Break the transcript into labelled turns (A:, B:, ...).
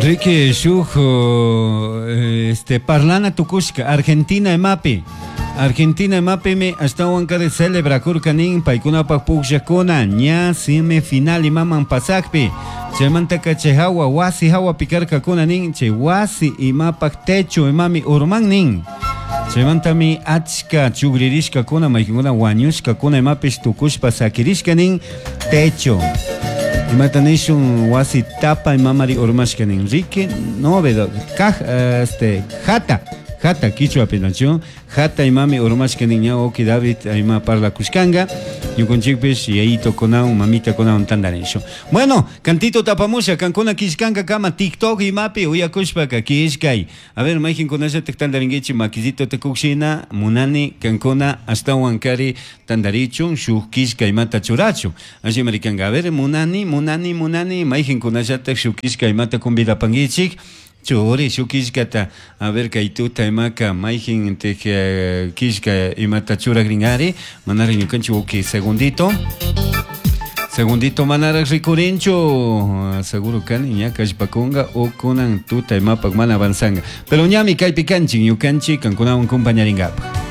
A: Riqui shuj este parlana tucushca Argentina imapi. Argentina imapimi ashtahuancari celebracurca nin paicunapaj pugllajcuna ña semifinal imaman pasajpi. Chaimantaca chay jahua huasi jahuapi carcacuna nin chay huasi imapaj techo imami urman nin. Chaimantami achca chugririshcacuna maijancuna huañushcacuna imapish tucushpa saquirishca nin techo. Imata nishun huasi tapa imamari urmashca nin. Riqui novedo kaj este jata jata quichwapi nachu jata imami urmashca nin ña uki David ima parlacushcanga ñukunchikpish yayitokunawan mamitakunawan tandarishun. Bueno, cantito tapamusha kankuna kishkanka kama TikTok imapi uyakushpaka kishkay. A ver, mayqinkunallataj tandarinkichik makillitota kuqshina munani kankuna ashtawan kari tandarichun shuk killka imata churachun. Allimari kanka. A ver, munani, munani, munani mayqinkunallataj shuk killka imata convidapankichik churi shuk killkata. A ver, kay tuta imaka mayqintik killka imata churakrinkari manaraq ñukanchik uki segundito. Segundito manaraq rikurinchu, seguro kani ña kallpakunqa o kunan tuta imapaq mana avanzanga. Pero ñami kaypi kanchik ñukanchik kankunawan compañaringapaq.